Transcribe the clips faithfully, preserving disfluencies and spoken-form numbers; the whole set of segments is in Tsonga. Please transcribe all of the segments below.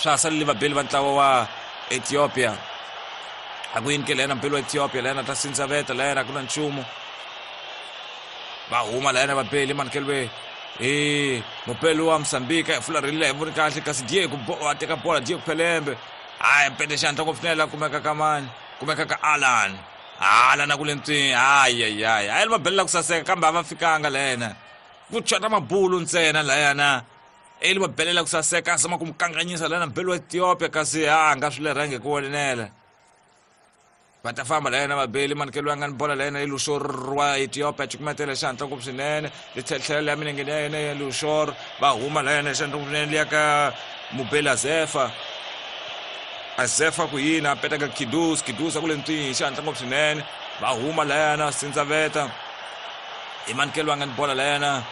Swa salile vabeli va ntlawa wa Ethiopia. A ku yini ke lena mbeli wa Ethiopia lena ta sindzaveta lena ku na nchumu. Va huma lena vabeli manikeliwe eh mupeli wa Mozambique a fularhile hi voni kahle kasi Diego a teka bola Diego Pelembe. Hayi mpete xandla ngopfu swinene la kumeka ka mani kumeka ka Alan. Alan a ku le ntswini. Hayi hayi hayi hayi mabeli la ku saseka kambe a va fikanga lena. Ku chota mabulu ntsena layana. Eli mabelela ku saseka a zama ku mu kanganyisa lana mbeli wa Ethiopia kasi a nga swi lerhangi ku vonela. Va ta famba layena vabeli manikelo ya nga ni bola layena i Lushor wa Ethiopia cukumetela xandla ngopfu swinene li tlhetlhela ya milenge ya yena ya Lushor. Va huma layena xandla ngopfu swinene liya ka mubeli Azefa. Azefa ku yini a peta ka Kidus. Kidus a ku le ntswini xandla ngopfu swinene. Va huma layena sindzaveta i manikelo ya nga ni bola layena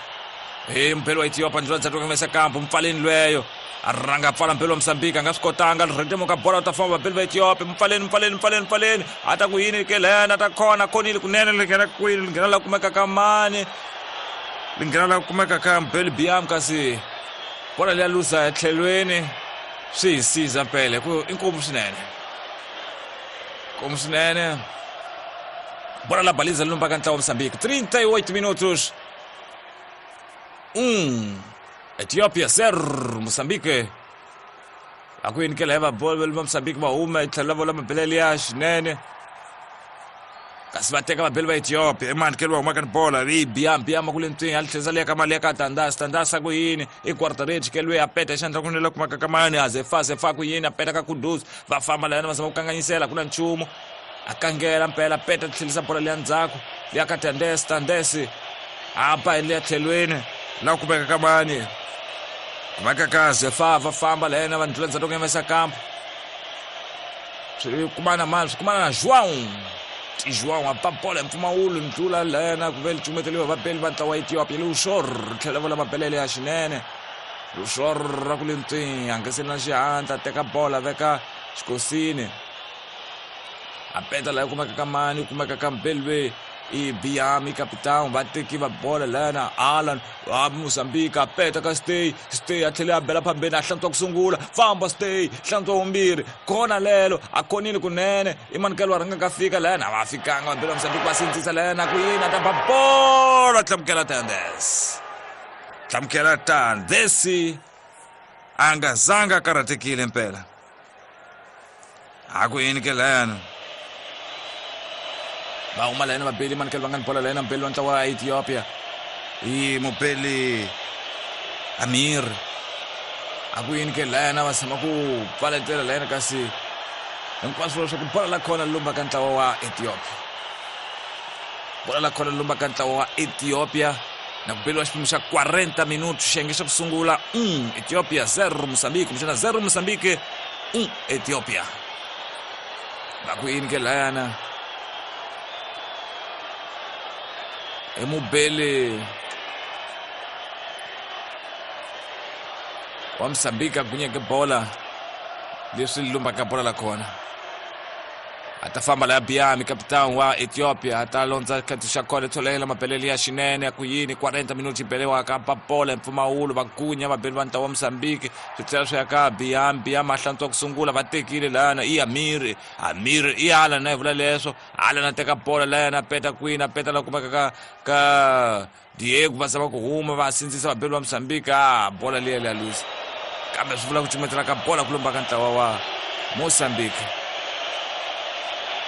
hi mubeli wa Ethiopia ndlela ndzhaku ka mesa kambu mpfaleni lweyo. A rhanga pfala mbeli wa Mozambique a nga swi kotanga rhentemuka bola u ta famba vabeli va Ethiopia. Mpfaleni mpfaleni mpfaleni mpfaleni a ta ku yini ke lena ta khona khonile kunene li nghena kwini li nghena la kumeka ka mani li nghena la kumeka ka mbeli Biam kasi bola liya luza etlhelweni swi hi siza mpela ku i nkomu swinene nkomu swinene. Bola la baliza lumba ka ntlawa wa Mozambique. trinta e oito minutos. Um Ethiopia zero Mozambique. A ku yini ke leva bola va Mozambique va huma yi tlhela vola mabelele ya xinene kasi va teka vabeli va Ethiopia i mani ke loyi humaka ni bola i Biam. Biam ku le ntswini a li tlhela liya ka mali ya ka Tandas. Tandas a ku yini i quarter ke loyi a peta xandla ku nela kumaka ka mani a Zefa. Zefa ku yini a peta ka Kudus. Va famba layana va zama ku kanganyisela ku na nchumu a kangela mpela peta tlhelisa bola liya ndzhaku liya ka Tandes. Tandes a ba liya tlhelweni la kumeka ka mani kumeka ka Zefa. Va famba lena va ndlula ndzhaku ka kampo swi kumana mani swi kumana na João. João a ba bola hi mpfumawulo ndlula lena ku ve li cumeteliwa vabeli va ntlawa wa Ethiopia. Lushor tlhela vola mabelele ya xinene. Lushor ra ku le ntswini a nga se na xihatla teka bola veka xikosini a peta laha kumeka ka mani kumeka ka mbeli i Biami capitão va teki va bola lena Alan wa Mozambique a peta ka Stay. Stay a tlhela a bela phambeni a hlantswa ku sungula famba Stay hlantswa vumbirhi kona lelo a khonile kunene i manikelo wa rhanga ka fika lena a va fikanga vabeli va Mozambique va sindzisa lena ku yini a ta ba bola Tlamukela Tandes. Tlamukela Tandes a nga zanga a karhatekile mpela a ku yini ke lena. Va huma lena vabeli manikelo va nga ni bola lena mbeli wa ntlawa wa Ethiopia i mubeli Amir a ku yini ke lena va tshama ku pfaletela lena kasi hinkwaswo leswaku bola la khona lumba ka ntlawa wa Ethiopia. Bola la khona lumba ka ntlawa wa Ethiopia na ku beliwa xiphemu xa quarenta minutos xiyenge xa ku sungula um Ethiopia zero Mozambique kumbexana zero Mozambique um Ethiopia. Va ku yini ke layana i mubeli wa Mozambique a gunyeke bola leswi lumbaka bola la kona a ta famba laya Biami capitão wa Ethiopia a ta londza khati xa kona tsholela mabelele ya xinene ya ku yini quarenta minutos yi beliwa ka bola mpfumawulo va gunya vabeli va ntlawa wa Mozambique swi tlhela swi ya ka Biami. Biami a hlantswa ku sungula va tekile lana i Amir. Amir i Alan na vula leswo Alan a teka bola layana a peta kwini a peta la kumeka ka ka Diego va zama ku huma va sindzisa vabeli va Mozambique a bola liya liya luza kambe swi vula ku cumetela ka bola ku lomba ka ntlawa wa Mozambique.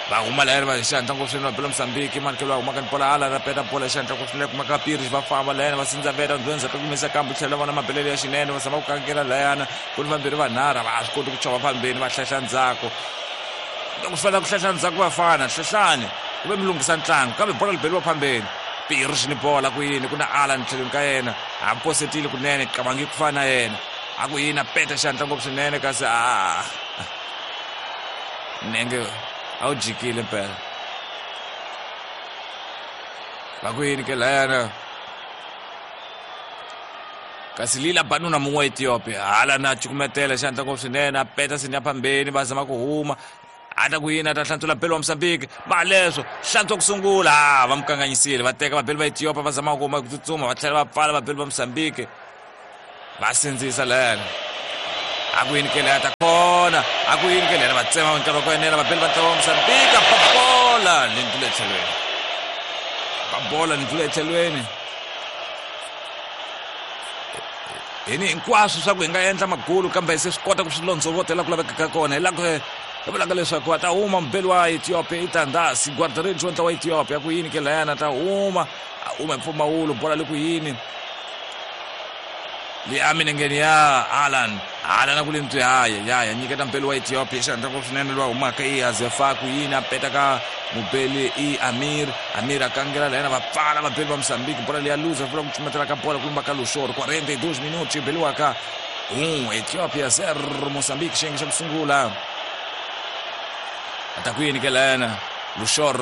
Va huma layani va xandla ngopfu swinene vabeli va Mozambique manikelo va humaka ni bola Alan a peta bola xandla ngopfu swinene kumeka Pires va famba layani va sindzaveta ndlwenzha ta kumisa kambe tlhela vona mabelele ya xinene va zama ku kangela layana ku ni vambirhi vanharhu va swi koti ku chova phambeni va hlahla ndzhaku loko swi fanele ku hlahla ndzhaku vafana hlehlani ku ve mi lunghisa ntlangu kambe bola li beliwa phambeni Pires ni bola ku yini ku na Alan tlhelweni ka yena a posetile kunene qabangi ku fana na yena a ku yini a peta xandla ngopfu swinene kasi a nenge a wu jikile mpela. Va ku yini ke layana kasi lila banuna mun'we wa Ethiopia hala na cukumetela xandla ngopfu swinene a peta sinya phambeni va zama ku huma a ta ku yini a ta hlantswela beli wa Mozambique va leswo hlantswa ku sungula va mu kanganyisile va teka vabeli va Ethiopia va zama ku huma ku tsutsuma va tlhela va pfala vabeli va Mozambique va sindzisa layana A ku yini ke leya ta kona a ku yini ke leyana va tsema nkarhi wa ku enela vabeli va ntlawa wa Mozambique ba bola ni ndlula etlhelweni ba bola ni ndlula etlhelweni hini hinkwaswo swa ku hi nga endla magulu kambe se swi kota ku swi londzovotela ku laveka ka kona hi la ku hi vulaka leswaku a ta huma mubeli wa Ethiopia i Tandasi guarda-redes wa ntlawa wa Ethiopia ku yini ke layana ta huma a huma hi mpfumawulo bola le ku yini liya minengeni ya Alan Alan a ku le ntwi haya ya ya nyiketa mubeli wa Ethiopia xandla ku swinene lowa humaka i Azefa ku yini a peta ka mubeli i Amir Amir a kangela layena va pfala vabeli va Mozambique bola leya luza vula ku cumetela ka bola ku lumba ka Luxor quarenta e dois minutos beliwaka um Ethiopia zero Mozambique xiyenge xa ku sungula ata ku yini ke layena Luxor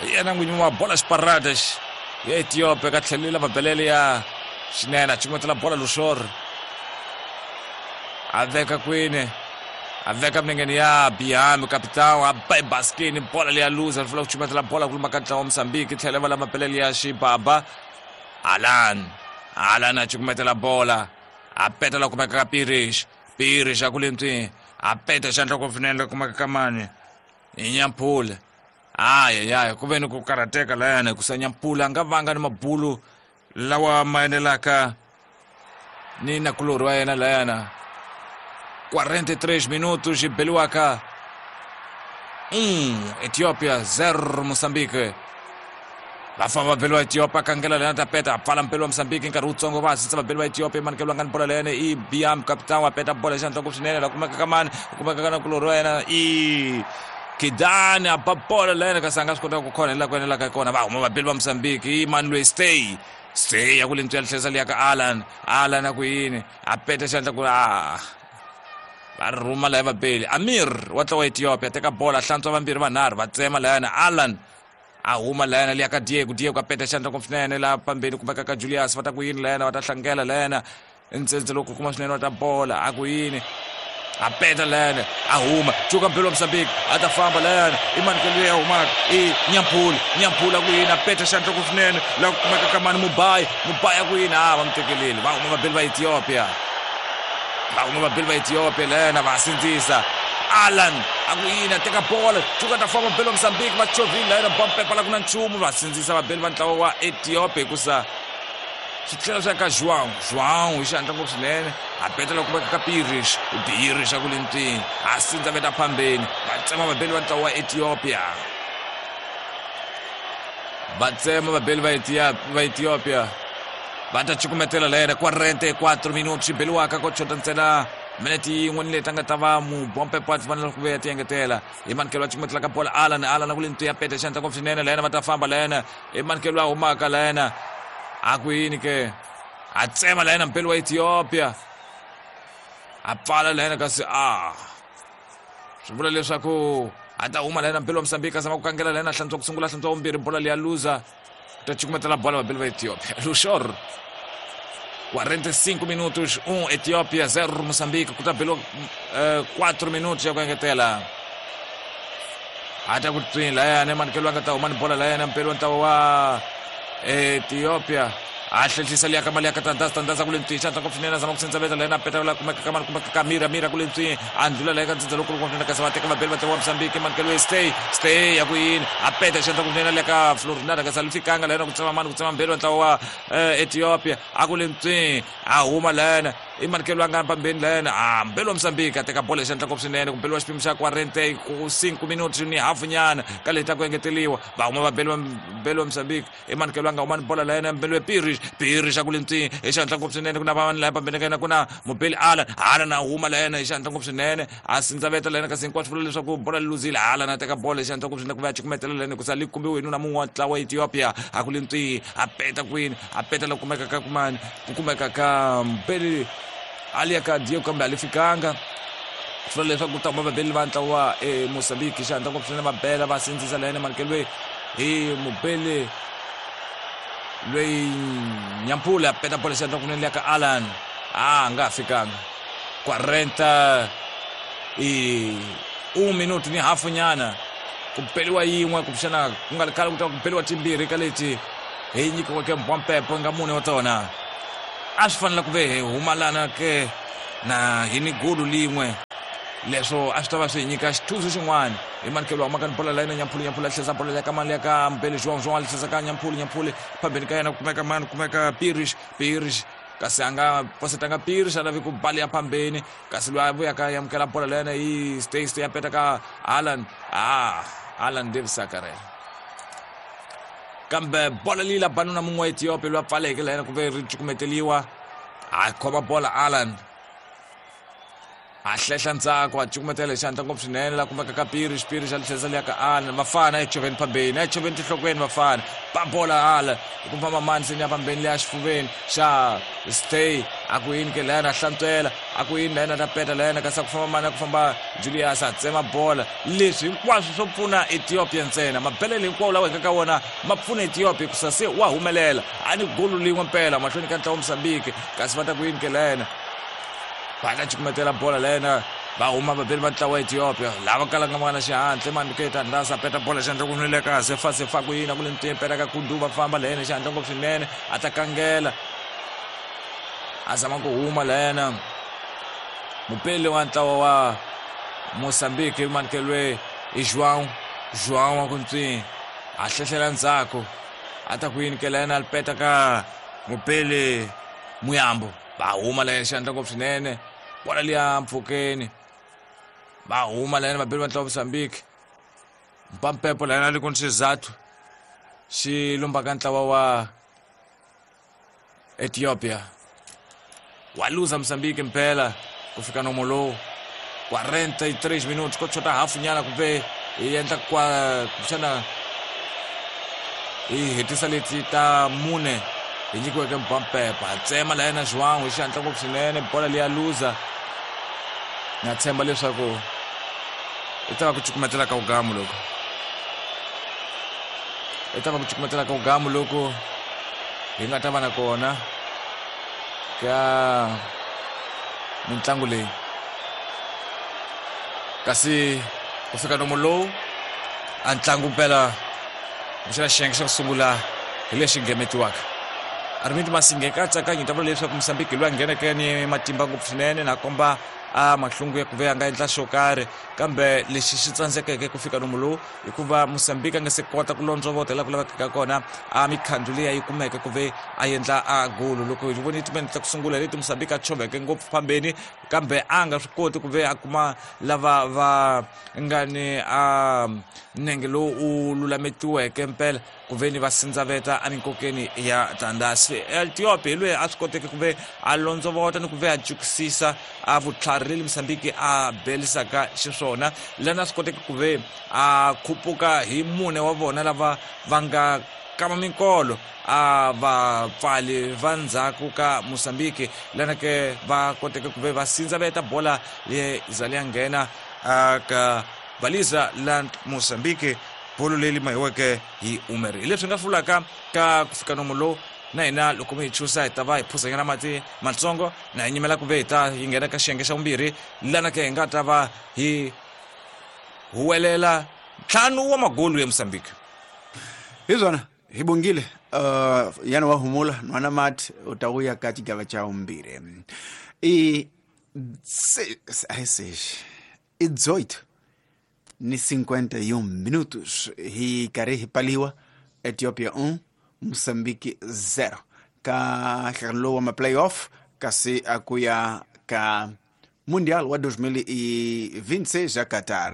yena n'winyi wa bola xiparadas ya Ethiopia ka tlhelela mabelele ya xinene a cumetela bola Luxor a veka kwini a veka minengeni ya Biami capitão a ba ebaskini bola leya luza ri vula ku cumetela bola ku lumba ka ntlawa wa Mozambique tlhela va la mapelele ya Xibaba Alan Alan a cukumetela bola a peta la kumeka ka Pirish Pirish a ku le ntwini a peta xandla ku finele kumeka ka mani hi Nyampula aya ya ku ve ni ku karhateka layana hikusa Nyampula a nga vanga ni mabulu lawa ma enelaka ni nakulorhi wa yena layana quarenta e três minutos beliwaka um Ethiopia zero Mozambique va famba vabeli va Ethiopia kangela leyana ta peta a pfala mpeli wa Mozambique nkarhi wutsongo va hasisa vabeli va Ethiopia manikelo nga ni bola leyana i Biam capitão a peta bola xandla ku swinene la kumeka ka mani ku kumeka ka nakulorhi wa yena i Kidani a ba bola leyana kasi a nga swi kota ku khona hi laha ku enelaka kona va huma vabeli va Mozambique i mani loyi stay stay ya ku le ntwi ya lihlesa liya ka Alan Alan a ku yini a peta xandla ku a va rhuma laya vabeli Amir wa ntlawa wa Ethiopia teka bola hlantswa vambirhi vanharhu va tsema layana Alan a huma layana liya ka Diego Diego a peta xandla ku swinene laha pambeni kumeka ka Julius va ta ku yini layana va ta hlangela layana ntsendze loko kuma swinene wa ta bola a ku yini a peta layana a huma cuka mpelo wa Mozambique a ta famba layana i manikelo leyi a humaka i Nyampula Nyampula ku yini a peta xandla ku swinene laha ku kumeka ka mani Mubayi Mubayi a ku yini a va mu tekeleli va huma vabeli va Ethiopia va huma vabeli va Ethiopia layana va sindzisa Alan a ku yini a teka bola cuka ta famba vabeli va Mozambique va chovhile layana bompepa la ku na nchumu va sindzisa vabeli va ntlawa wa Ethiopia hikusa swi tlhela swi ya ka João João hi xihatla ngopfu swinene a petela kumeka ka Pirish Pirish a ku le ntwini a sindza veta phambeni va tsema vabeli va ntlawa wa Ethiopia va tsema vabeli va va Ethiopia va ta cukumetela layena quarenta e quatro minutos beliwaka ko chota ntsena minete yin'we ni leti a nga ta va mubompepo a fanele ku vuya ti engetela hi manikelo a cukumetela ka bola Alan Alan a ku le ntwini ya peta xandla ngopfu swinene layena va ta famba layena hi manikelo a humaka layena a ku yini ke a tsema layena mpeli wa Ethiopia a pfala layena kasi a swi vula leswaku a ta huma layena mpeli wa Mozambique a zama ku kangela layena hlantswa ku sungula hlantswa vumbirhi bola leya luza ta cukumetela bola vabeli va Ethiopia Luxor quarenta e cinco minutos um Ethiopia zero Mozambique ku ta beliwa quatro minutos ya ku engetela a ta ku twini layana manikelo a nga ta huma ni bola layena mpeli wa ntlawa wa Ethiopia a hlehlisa liya ka mali ya ka Tandasa Tandasa ku le ntwini xandla ngopfu swinene a zama ku sindzaveta layena a peta la kumeka ka mani kumeka ka Mira Mira ku le ntwini a ndlula laya ka ndzindza lowukulu swinene kasi va teka vabeli va ntlawa wa Mozambique manikelo ya stay stay ya ku yini a peta xandla ku swinene liya ka Florinada kasi a li fikanga layena ku tsema mani ku tsema mbeli wa ntlawa wa Ethiopia a ku le ntwini a huma layena i manikelo a nga pambeni layena a mbeli wa Mozambique a teka bola hi xandla ngopfu swinene ku mbeli wa xipimo xa quarenta e cinco minutos ni hafu nyana ka leti ta ku engeteliwa va huma vabeli va mbeli wa Mozambique i manikelo a nga huma ni bola layena mbeli wa Pirish Pirish a ku le ntwini hi xandla ngopfu swinene ku na vanhu laya pambeni ka yena ku na mubeli Alan Alan a huma layena hi xandla ngopfu swinene a sindzaveta layena kasi hinkwaswo vula leswaku bola li luzile Alan a teka bola hi xandla ngopfu swinene ku va ya cukumetela layena hikusa li kumbiwe hi nuna mun'we wa ntlawa wa Ethiopia a ku le ntwini a peta kwini a peta la kumeka ka kumani ku kumeka ka mbeli ali ya ka Diego kambe a li fikanga swi vula leswaku ku ta huma vabeli va ntlawa wa Mozambique xandla ngopfu swinene va bela va sindzisa layena manikelo hi mubeli loyi Nyampula a peta bola xandla kunene liya ka Alan a nga fikanga quarenta e um minuto ni hafu nyana ku beliwa yin'we kumbexana ku nga ri khale ku ta ku beliwa timbirhi ka leti hi nyikiweke mbompepo nga mune wa tona a swi fanele ku ve hi humalana ke Na hi ni gulu lin'we leswo a swi ta va swi hi nyika xithuso xin'wana hi manikelo wa maka ni bola layena Nyampulu Nyampulu a tlhesa bola ya ka mali ya ka Mbele João João a tlhesa ka Nyampulu Nyampulu phambeni ka yena ku kumeka mani kumeka Pirish Pirish kasi a nga posetanga Pirish a lavi ku bali ya phambeni kasi loyi a vuyaka ya amukela bola layena hi stay stay ya peta ka Alan ah Alan Davis Sakarela kambe bola leyi la banuna mun'we wa Ethiopia loyi a pfaleke layena ku ve ri cukumeteliwa a khoma bola Alan a hlehla ndzhaku a cukumetela hi xandla ngopfu swinene la kumeka ka Pirish Pirish a tlhesa liya ka Alan vafana echoveni phambeni echoveni tinhlokweni vafana ba bola Alan hi ku famba mani seni ya phambeni leya xifuveni xa stay a ku yini ke layena a hlantswela a ku yini layena ta peta layena kasi a ku famba mani a ku famba Julius a tsema bola leswi hinkwaswo swo pfuna Ethiopia ntsena mabelele hinkwawo lawa hi nga ka wona ma pfuna Ethiopia hikusa se wa humelela a ni golu lin'we mpela mahlweni ka ntlawa Mozambique kasi va ta ku yini ke layena va ta cukumetela bola lena va huma vabeli va ntlawa wa Ethiopia lava kalanga va nga na xihatla maniketa ndasa peta bola xandla ku nwile ka sefa sefa ku yina ku le ntini peta ka kundu va famba lena xihatla ngopfu swinene a ta kangela a zama ku huma lena mupeli wa ntlawa wa Mozambique manikelwe i João João wa ku ntswini a hlehlela ndzhaku a ta ku yini ke lena a peta ka mupeli Muyambo va huma lena xandla ngopfu swinene bola liya mpfhukeni va huma lena vabeli va ntlawa Mozambique mpampepo lena li ku ni xizathu xi lombaka ntlawa wa Ethiopia wa luza Mozambique mpela ku fika nomo lowu quarenta e três minutos ko chota hafu nyana kumbe hi endla kwa kumbexana hi hetisa leti ta mune hi nyikiweke mpampepa a tsema la yena João hi xihatla ngopfu swinene bola leya luza na tshemba leswaku i ta va ku cukumetela ka ugamu loko i ta va ku cukumetela ka ugamu loko hi nga ta va na kona ka mintlangu leyi kasi ku fika nomo lowu a ntlangu mpela kumbexana xiyenge xa ku sungula hi lexi ngemetiwaka Armindo Masinge katsakanyi ta vula leswaku Mozambique loyi a ngheneke ni matimba ngopfu swinene na komba a mahlungu ya ku ve a nga endla xo karhi kambe lexi xi tsandzekeke ku fika nomu lowu hikuva Mozambique a nga se kota ku londzovota laha ku lavekaka kona a mikhandzu leyi a yi kumeke ku ve a endla a golo loko hi voni timene ta ku sungula leti Mozambique a choveke ngopfu phambeni kambe a nga swi koti ku ve a kuma lava va nga ni a nenge lowu u lulametiweke mpela ku ve ni va sindzaveta eminkokeni ya tandasi Ethiopia hi loyi a swi koteke ku ve a londzovota ni ku ve a jukisisa a vutlhari leli Mozambique a belisaka xiswona lana a swi koteke ku ve a khupuka hi mune wa vona lava va nga kama minkolo a vapfali va ndzhaku ka Mozambique lana ke va koteke ku ve va sindzaveta bola leyi za leya nghena ka baliza la Mozambique bolo leyi mahiweke hi Umeri hi leswi nga hlulaka ka ku fika nomo lowu na hina loko mi hi chusa hi ta va hi phuzanyana mati matsongo na hi nyimela ku ve hi ta hi nghena ka xiyenge xa vumbirhi lana ke hi nga ta va hi huwelela ntlhanu wa magolu ya Mozambique hi swona hi bongile uh, yana wa humula nwana mati u ta vuya ka xigava xa vumbirhi i se, a seis i dezoito ni cinquenta e um minutos hi karhi hi paliwa Ethiopia um Mozambique zero ka nhlangano lowu wa ma-playoff kasi a ku ya ka Mundial wa dois mil e vinte e seis ya Qatar.